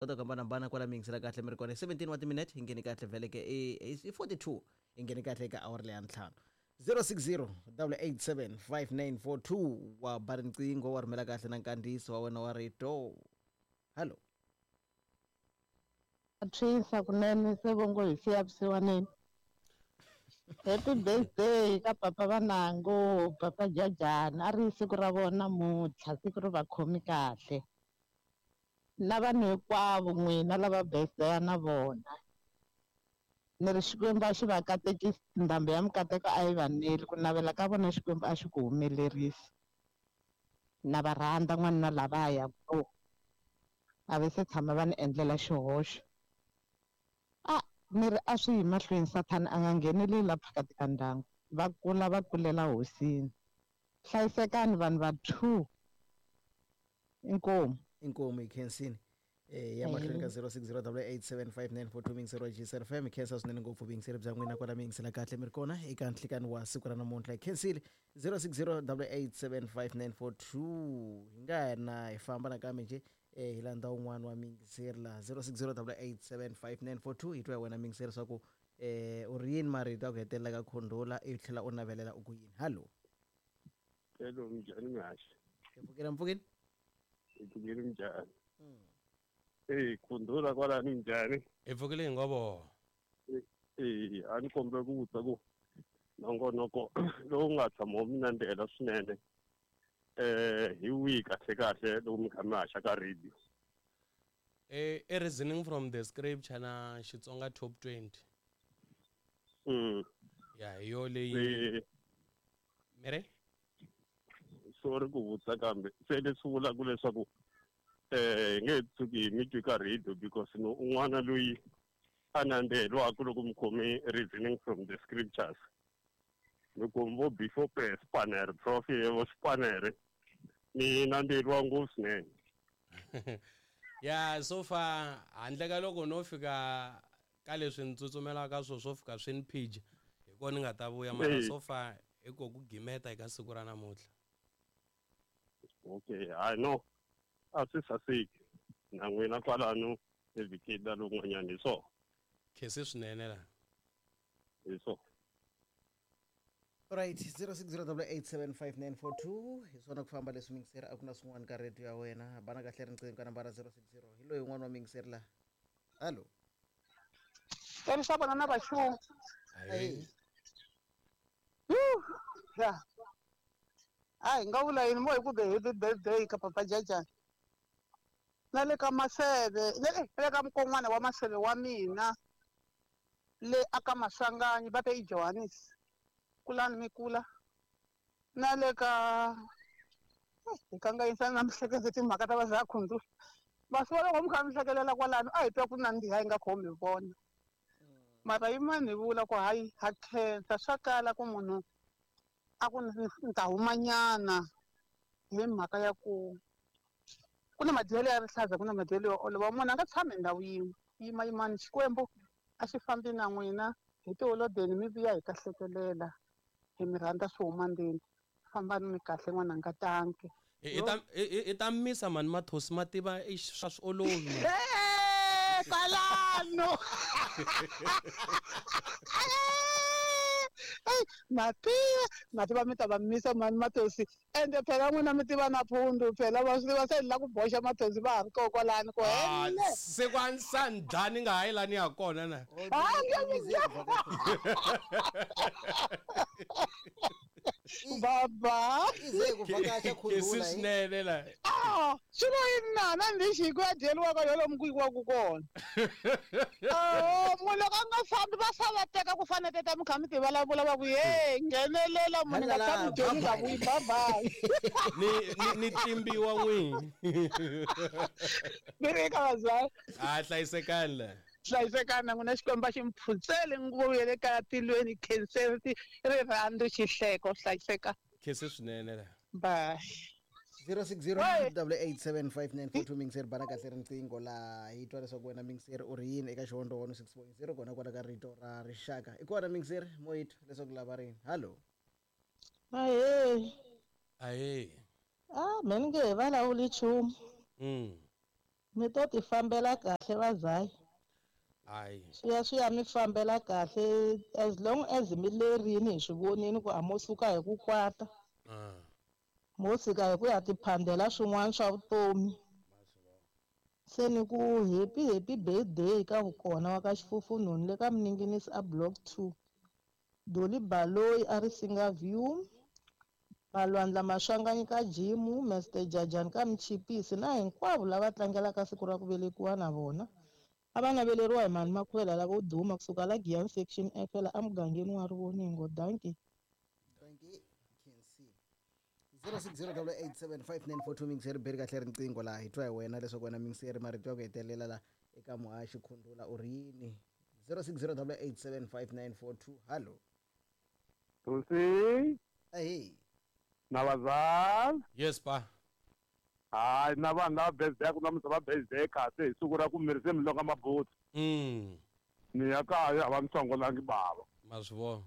Ta ku hambanahambana kwala mi yingisela kahle mi ri kona. 17 wa timinete hi ngheni kahle vhele ke i 42 hi ngheni kahle eka awara leya ntlhanu. 060 887 5942 wa ba riqingho wa rhumela kahle na nkandziyiso wa wena wa rito. Hallo. Tshwisa kunene se vongo hi siya vusiwaneni. Happy birthday ka papa Vanango, papa Jajani. A ri siku ra vona namuntlha, siku ri va khomi kahle. Na vanhu hinkwavo n'wina lava birthday na vona. Ni ri Xikwembu a xi va katekisi, ndhambi ya mikateko a yi va neli, ku navela ka vona Xikwembu a xi ku humelerisi. Na va rhandza n'wanuna lavaya ku a va se tshama va ni endlela xihoxo. A ni ri a swi yi mahlweni Sathana a nga ngheneleli la phakati ka ndyangu. Va kula va kulela hosini. Hlayisekani vanhu va 2. Inkomu. Inkomu hi khensini. Ya mahlweni ka 0608875942 mingiseri wa GCR FM. Hi khensa swinene ngopfu vuyingiseri bya n'wina kwala mi yingisela kahle mi ri kona eka nhlikani wa siku ra namuntlha. Hi khensile 0608875942. Hi nga na hi famba nakambe nje hi landza un'wana wa mingiseri la 0608875942. Hi twa wena mingiseri swa ku u ri yini marito ya ku hetelela ka khondhola i tlhela u navelela u ku yini. Hallo. Hello, minjhani mihaxi? Hi pfukile mpfukini? Hi pfukile minjhani? Khondhola kwalani minjhani? Hi pfukile hi ngovo. A ni kombela ku vutisa ku nongonoko lowu nga tshama wu mi nandzihela swinene hi wihi kahle kahle loko mi kha mi haxa ka radio? I reasoning from the scripture na Xitsonga top 20. Ya hi yo leyi. Mere? Sorry ku vutisa kambe se leswi vulaka leswaku hi nge tshuki mi twi ka radio because no un'wana loyi a nandziheliwaka loko mi khome reasoning from the scriptures. Loko vo before spanner prof vo spanner ni nandziheliwa ngopfu swinene. Ya so far handle ka loko no fika ka leswi ni tsutsumelaka swo swo fika swi ni phija hi kona ni nga ta vuya mara so far hi ko ku gimeta eka siku ra namuntlha. Okay, I know. A swi saseki na n'wina kwalano evhikini la lowun'wanyana hi swona. Khesi swinene la. Hi swona. Right, 0608875942 hi swona ku famba leswi mingiseri a ku na swin'wana ka radio ya wena. Bana kahle riqingho ka nambara 060. Hi loyi un'wana wa mingiseri la. Hallo. Tsarisa vona na vaxungu. Ahee. Ya. A hi nga vula yini mo hi ku be happy birthday ka papa Jajani. Na le ka Maseve, le ka mukon'wana wa Maseve wa mina le aka Maswanganyi va te i Johannes. Kulani mi kula. Na le ka hi kanganyisana na mihleketo timhaka ta va za khundzu. Masiku loko mi kha mi hlekelela kwalano a hi twa ku nandziha hi nga khomi vona. Mara yin'wana hi vula ku hayi ha khensa swa kala ku munhu a ku ni ta humanyana hi mhaka ya ku ku na madyelo ya rihlaza ku na madyelo yo olova munhu a nga tshami ndhawu yin'we yima yimani Xikwembu a xi fambi na n'wina hi tiholodeni mi vuya hi ta hlekelela hi mi rhandza swi huma ndzeni fambani mi kahle n'wananga tanki. I ta misa mani mathosi ma tiva swa swi olovi mani. Kwalano. Mativa mi ta va misa mani mathosi ende phela n'wina mi tiva na phundu phela va swi tiva se ni la ku boxa mathosi va ha ri kona kwalano ku hele. Se ku a ni sandlani nga ha yi lani ya kona na. Baba. Ize ku vhakacha khundula. Kesi swinene la. Swi lo yini nana lexi hi ku ya dyeriwaka yo lomu ku yiwaka kona. Munhu loko a nga fambi va fa va teka ku fana teta mi kha mi ti vulavula va ku he nghenelela munhu nga tshami dyoni nga vuyi bye bye. Ni tlimbiwa n'wini. Ni ri eka vazali. A hlayisekani la. Hlayisekani na n'wina Xikwembu a xi mi phutseli nguvu ya le kaya tilweni khenseri rirhandzu xihleko hlayiseka. Khesi swinene la. Bye. 0608875942 mingiseri bana kahle riqingho la hi twa leswaku wena mingiseri u ri yini eka Xihondzo 106.0 kona kwala ka rito ra rixaka. I kona mingiseri mo yi twa leswaku lava rini. Hallo. Ahee. Ahee. Me ni nge he vulavuli nchumu. Mi to ti fambela kahle vazayi. Hayi. Swi ya mi fambela kahle as long as mi lerini hi swi vonini ku a mo suka hi ku kwata. Mo suka hi ku ya tiphandela swin'wana swa vutomi. Se ni ku happy happy birthday ka vukona wa ka Xifufunhunhu le ka Mninginisi a block 2. Dolly Baloyi a ri Singa View. Malwandla Maswanganyi ka Jimu, Mr Jajani ka Mchipisi na hinkwavo lava tlangelaka siku ra ku velekiwa na vona. A va naveleriwa hi mhani Makhuvela lavo duma kusuka la Giyani section F la emugangeni wa Rivoningo. Dankie. Dankie. Can see. 0608875942 mingiseri beri kahle riqingho laha hi twa hi wena leswaku wena mingiseri marito ya ku hetelela la eka muhaxi Khundula u ri yini. 0608875942, hallo. Tosi. Ahe. Na vazali. Yes pa. Hayi, na vanhu lava birthday ku namuntlha va birthday kahle hi siku ra ku miri se mi longa mabutsu. Ni ya kaya a va mi hlongolangi bava. Ma swi vona.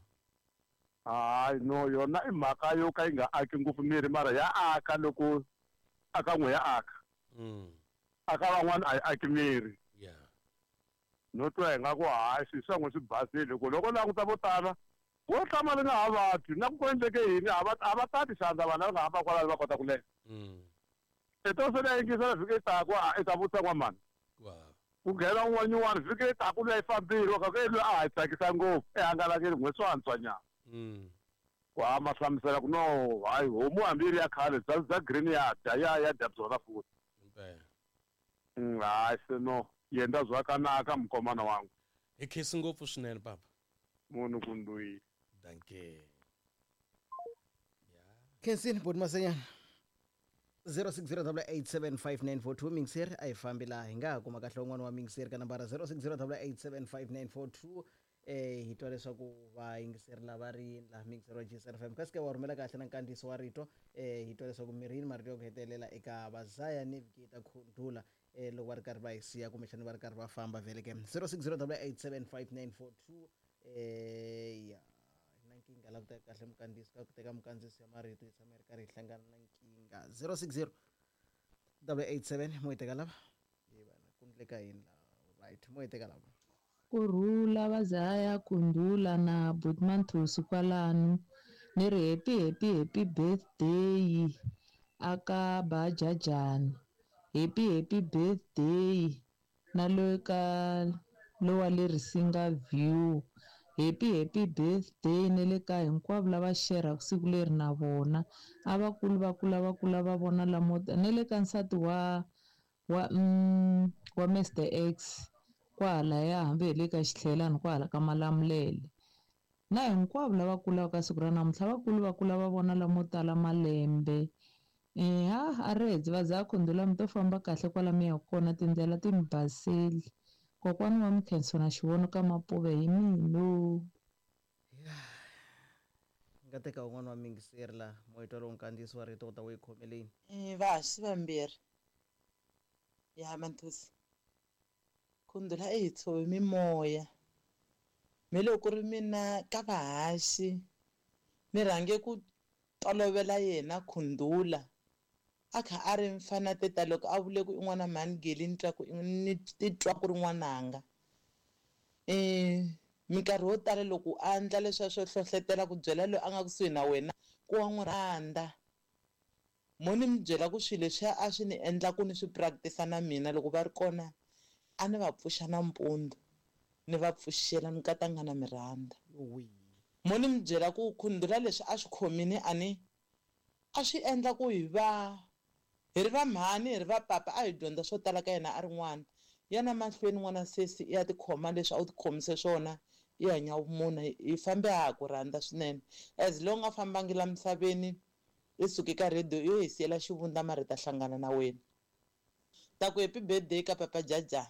Hayi no, yona i mhaka yo ka yi nga aki ngopfu miri, mara ya aka loko aka n'we ya aka. Aka van'wana a yi aki miri. No twa hi nga ku hayi swilo swa n'we swi basile ku loko languta vo tala wo hlamala nga ha vabyi na ku endleke yini a va tati xandla vanhu lava nga hamba kwalano va kota ku leha. Eto se na yingisela vhiki yi taku i ta vutisa n'wamani. Ku nghena un'wanyana vhiki yi taku luya yi fambile ka ku loyi a ha yi tsakisa ngopfu ehangalakile n'we swo antswa nyana. Ku hamba hlamusela ku no hayi homu hambi yi ri ya khale bya green ya dya ya dya byona futhi. Hayi se no yenda zvakanaka mukomana wangu. Hi khesi ngopfu swinene papa. Munhu kunduyi. Dankie. Khensini boti Masenyana. 0608875942 mingiseri a hi fambi laha hi nga ha kuma kahle un'wana wa mingiseri ka nambara 0608875942. Hi twa leswaku vayingiseri lava ri laha mingiseri wa GSN FM kasi ke wa rhumela kahle na nkandziyiso wa rito. Hi twa leswaku mirini marito ya ku hetelela eka Vazaya Navigator Khundula loko va ri karhi va hi siya kumbexana va ri karhi va famba vhele ke. 0608875942. Ya na nkingha la ku teka kahle mukandziyiso ka ku teka mukandziyiso ya marito hi tshama hi ri karhi hi hlangana na nkingha. 060887 mo hi teka lava hi vana ku ndleka yini la right mo hi teka lava. Kurhula Vazaya Khundula na Botman Thusi kwalano ni ri happy happy happy birthday aka Bajajani, happy happy birthday na loyi ka lowa le Risinga View, happy happy birthday ne le ka hinkwavo lava xerhaka siku leri na vona a va kuli va kula va kula va vona lamo ne le ka nsati wa Mr X kwahalaya hambi hi le ka Xitlhelani kwahala ka Malamulele na hinkwavo lava kulaka ka siku ra namuntlha va kuli va kula va vona lamo tala malembe. Ha a ri Vazaya Khundula mi to famba kahle kwala mi yaka kona tindlela ti mi baseli. Kokwani wa Mkhenso na xivono ka Mapuve hi mino. Nga teka un'wana wa mingiseri la moyitwa lowu nkandziyiso wa rito u ta wu yi khomeleni. Vahaxi vambirhi ya Manthusi Khundula i hi tshove mimoya me loko ku ri mina ka vahaxi ni rhange ku tolovela yena Khundula a kha a ri mfana teta loko a vule ku i n'wana mhani Geli ni twa ku ni titwa ku ri n'wananga. Minkarhi yo tala loko a endla leswiya swo hlohletela ku byela loyi a nga kusuhi na wena ku wa n'wi rhandza mo ni mi byela ku swilo leswiya a swi ni endla ku ni swi practice na mina loko va ri kona a ni va pfuxa nampundzu ni va pfuxela ni katanga na mi rhandza. Mo ni mi byela ku Khundula leswi a swi khomini a ni a swi endla ku hi va hi ri va mhani hi ri va papa a hi dyondza swo tala ka yena a ri n'wana yana mahlweni n'wana sesi i ya tikhoma leswi a wu tikhomise swona i hanya vumunhu hi fambe ha ku rhandza swinene as long a fambangi la misaveni i suke ka radio yo hi siyela xivundza mara hi ta hlangana na wena. Ta ku happy birthday ka papa Jajani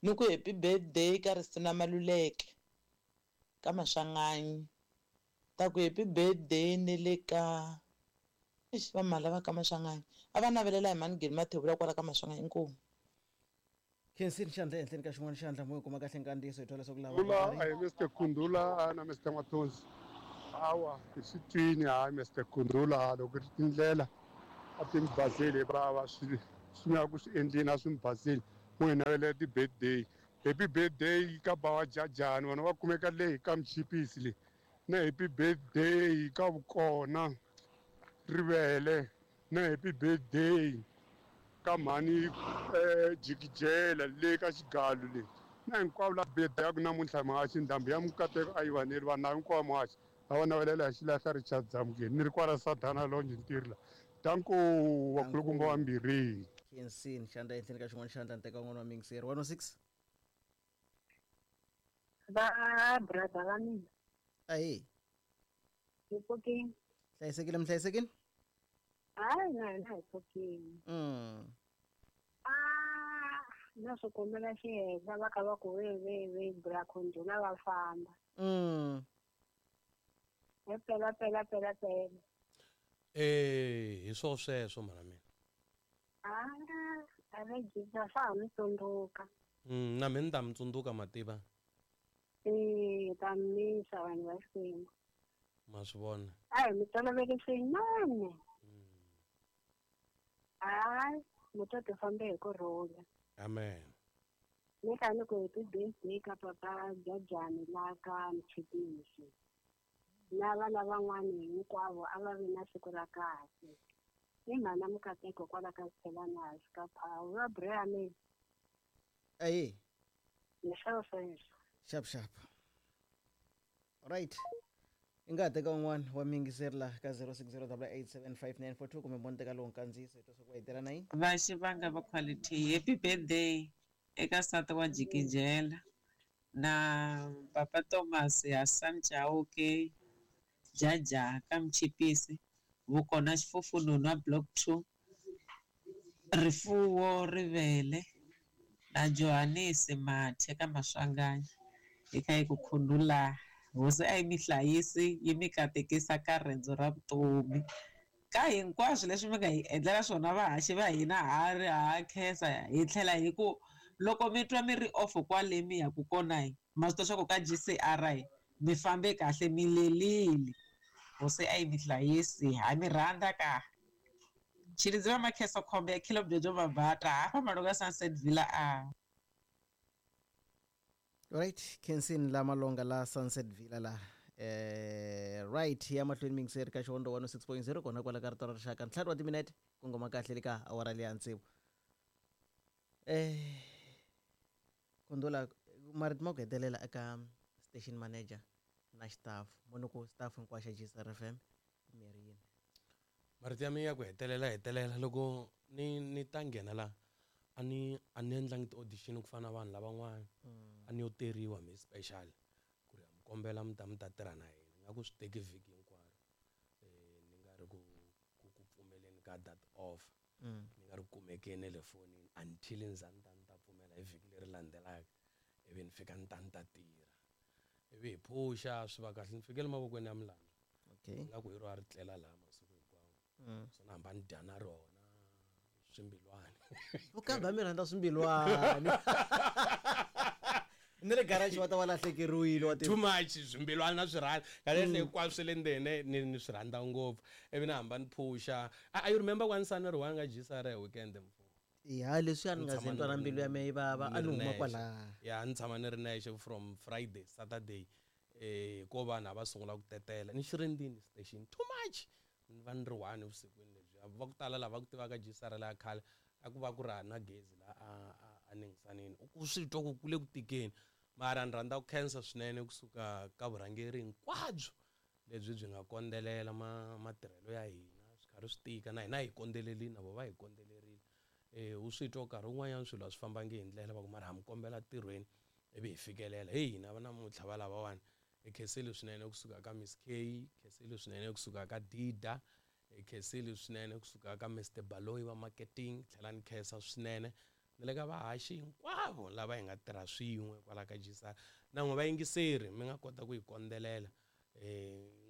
ni ku happy birthday ka Risuna Maluleke ka Maswanganyi, ta ku happy birthday ni le ka eish va mhala va ka Maswanganyi a va navelela hi mhani Geli Mathebula kwala ka Maswanganyi inkomu. Khensini xandla ehenhleni ka xin'wana xandla mo yi kuma kahle nkandziyiso hi twa leswaku lava Kundula a hi Mr Kundula na Mr Mathonsi. Hawa hi swi twini hayi Mr Kundula loko ri tindlela a ti mi baseli bava swi swi nga ku swi endleni a swi mi baseli mo hi navelela ti-birthday. Happy birthday ka Bawa Jajani, vona va kumeka leyi ka Mchipisi leyi. Na happy birthday ka Vukona Rivele, na happy birthday ka mhani Jikijela le ka Xigalu le. Na hinkwavo la birthday ya ku namuntlha muhaxi ndhambi ya Mukateko a yi vaneli vanhu hinkwavo muhaxi a va navelela hi xilahla Richard Zamukeni ni ri kwala Sadana Lounge ntirhi la. Danko vakulukumba vambirhi. Khensini xandla ehenhleni ka xin'wana xandla nteka wun'wana wa miyingiseri 106. Va brother va mina. Ahe. Hi pfukile. Hlayisekile mi hlayisekile? Hayi na hina hi pfukile. Na swi kombela xihenhla va kha va ku ve ve ve bra Khundula va famba. He pela pela pela pela. Hi swo sweswo mhana mina. A va jika swa ha mi tsundzuka. Na mina ni ta mi tsundzuka mativa. Ta misa vanhu va Xikwembu. Ma swi vona. A hi mi tolovele swinene. Hayi, mi to ti fambe hi ku rhula. Amen. Ni kha ni ku happy birthday ka papa Jajani la ka Mchipisi. Na vana van'wani hinkwavo a va vi na siku ra kahle. Ni mhana Mukateko kwala ka Xithelana hansi ka phawu. Va bra mina. Ahe. Hi swo sweswo. Xap xap. Right. I nga ha teka un'wana wa miyingiseri laha ka 0608875942 kumbe mo ni teka lowu nkandziyiso hi twa swa ku va hi tirha na yini. Va xivanga va quality happy birthday eka nsati wa Jikijela na papa Thomas Hassan Chauke Jaja ka Mchipisi Vukona Xifufununu wa Block 2 Rifuwo Rivele na Johannes Mathe ka Maswanganyi hi kha hi ku khundula hosi a yi mi hlayisi yi mi katekisa ka riendzo ra vutomi ka hinkwaswo leswi mi nga hi endlela swona vahaxi va hina ha ri ha khensa hi tlhela hi ku loko mi twa mi ri off kwale mi yaku kona hi ma swi tiva swa ku ka GCR hi mi fambe kahle mi lelile hosi a yi mi hlayisi ha mi rhandza ka Tshilidzi va Makheso Khombe ya Khilo Byojo Mabata hafha Malunga Sunset Villa a. Right, Kensin la Malonga la Sunset Villa la. Right, ya mahlweni mingiseri ka Xihondzo 106.0 kona kwala ka rito ra rixaka ntlhanu wa timinete ku ngoma kahle le ka awara leya tsevu. Khundula marito ma ku hetelela eka station manager na staff mo ku staff hinkwaxo xa GCR FM mirini. Marito ya mina ya ku hetelela loko ni ta nghena la a ni endlangi ti-audition ku fana na vanhu lavan'wana. A ni yo teriwa mi special ku ri mi kombela mi ta tirha na hina nga ku swi teki vhiki hinkwaro. Ni nga ri ku pfumeleni ka that offer. Ni nga ri kumekeni le fonini until ni za ni ta pfumela hi vhiki leri landzelaka ivi ni fika ni ta tirha. Ivi hi phusha swi va kahle ni fikele mavokweni ya Milandzu. Okay. Nga ku hi ro a ri tlela laha masiku hinkwawo. So na hamba ni dya na rona swimbilwani. Vukambi mi rhandza swimbilwani. Ni le garage wa ta va lahlekeriwile wa too much swimbilwani na swi rhandza. Kahle hinkwaswo swi le ndzeni ni swi rhandza ngopfu. Ivi na hamba ni phusha. I remember one Sunday ri one nga GCR hi weekend mfo. Ya leswi a ni nga ze twana mbilu ya mina yi vava a ni huma kwala. Ya ni tshama ni ri nexe from Friday Saturday. Ko vanhu a va sungula ku tetela ni xirindini station too much. Ni va ni ri one evusikwini lebyi va ku tala lava ku tivaka GCR la khale a ku va ku ri na gezi la a ningisanini u swi twa ku kule ku tikeni mara ni rhandza ku khensa swinene kusuka ka vurhangeri hinkwabyo lebyi byi nga kondzelela matirhelo ya hina swi karhi swi tika na hina hi kondzelerile na vo va hi kondzelerile. U swi twa nkarhi wun'wanyana swilo a swi fambangi hi ndlela va ku mara ha mi kombela ntirhweni ivi hi fikelela hey hina va namuntlha va lavawani hi khensile swinene kusuka ka Miss K, khensile swinene kusuka ka Dida, hi khensile swinene kusuka ka Mr Baloyi va marketing, tlhela ni khensa swinene na le ka vahaxi hinkwavo lava hi nga tirha swin'we kwala ka GCR na n'we vayingiseri mi nga kota ku hi kondzelela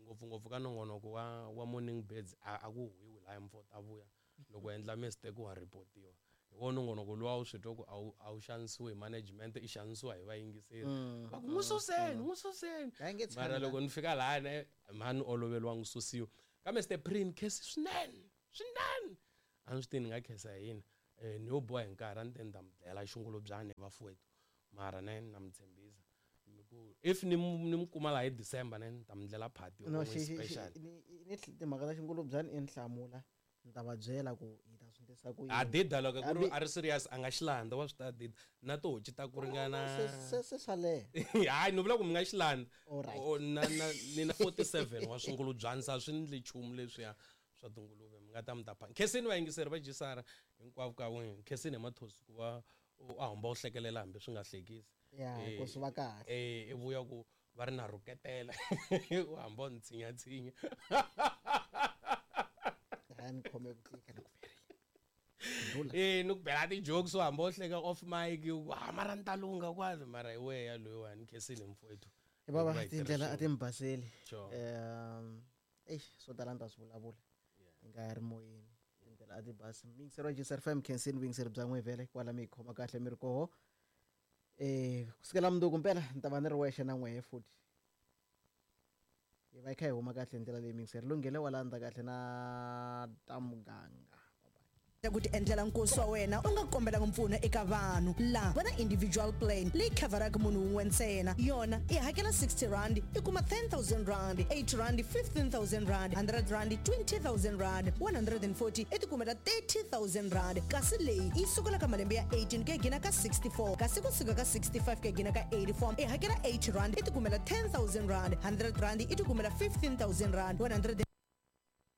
ngopfungopfu ka nongonoko wa Morning Birds a ku huwiwi laya mfo ta vuya loko endla mistake wa reportiwa hi wona nongonoko luwa wu swi twa ku a wu xanisiwi hi management i xanisiwa hi vayingiseri va ku n'wi suseni mara loko ni fika lahaya mhani oloveriwa n'wi susiwa ka Mr Prin khensi swinene a ni swi tivi ni nga khensa hi yini. Ni yo boha hi nkarhi a ni te ni ta mi dlayela xingulubyani vafowethu, mara ne na mi tshembisa mi ku if ni ni mi kuma laha hi December, ne ni ta mi ndlela party No, yo xi special. Ni timhaka ta xingulubyani i ni hlamula, ni ta va byela ku hi ta swi endlisa ku A yini. Dida loko ku ri Hambi a ri serious, a nga xi landza, wa swi ta dida na tihoci ta ku ringana. Se swa leha. Hayi, ni vula ku mi nga xi landza. Alright. O, na ni na 47 wa swingulubyani, sa swi ndli nchumu leswiya swa tinguluve, mi nga ta mi ta pha. Khensini vayingiseri va jisara hinkwavo ka n'wina, khensini hi mathosi ku va a hamba u hlekelela hambi swi nga hlekisi. Ya, ku swi va kahle. I vuya ku va ri na rhuketela, u hamba u ni tshinyatshinya. Hayi, ni khome ku tika, ni ku ndula. Ni ku bela ti-jokes, u hamba u hleka off mic, u ku, "Ah, mara ni ta lungha kwalo," mara hi wehe ya loyiwani. Khensini mfowethu. Hi bava, Hikuva hi tirha tindlela a swin'we. ti mi baseli. Sure. Eish, swo tala ni ta swi vulavula hi nga ya ri moyeni, tindlela a ti basi. Muyingiseri wa GCR FM, khensini vuyingiseri bya n'we vhele kwala mi hi khoma kahle mi ri koho. Kusukela mundzuku mpela ni ta va ni ri wexe na n'wehe futhi, hi va hi kha hi huma kahle hi ndlela leyi. Muyingiseri lunghele wa landza kahle na ta muganga. Ku ti endlela nkosi wa wena u nga kombelanga mpfuno eka vanhu laha va na individual plan leyi khavharaka munhu wun'we ntsena. Yona i hakela 60 rand, i kuma 10,000 rand, 8 rand 15,000 rand, 100 rand 20,000 rand, 140 i tikumela 30,000 rand. Kasi leyi yi sukela ka malembe ya 18 ku ya gina ka 64, kasi kusuka ka 65 ku ya gina ka 84 i hakela 8 rand, i tikumela 10,000 rand, 100 rand i tikumela 15,000 rand, 100.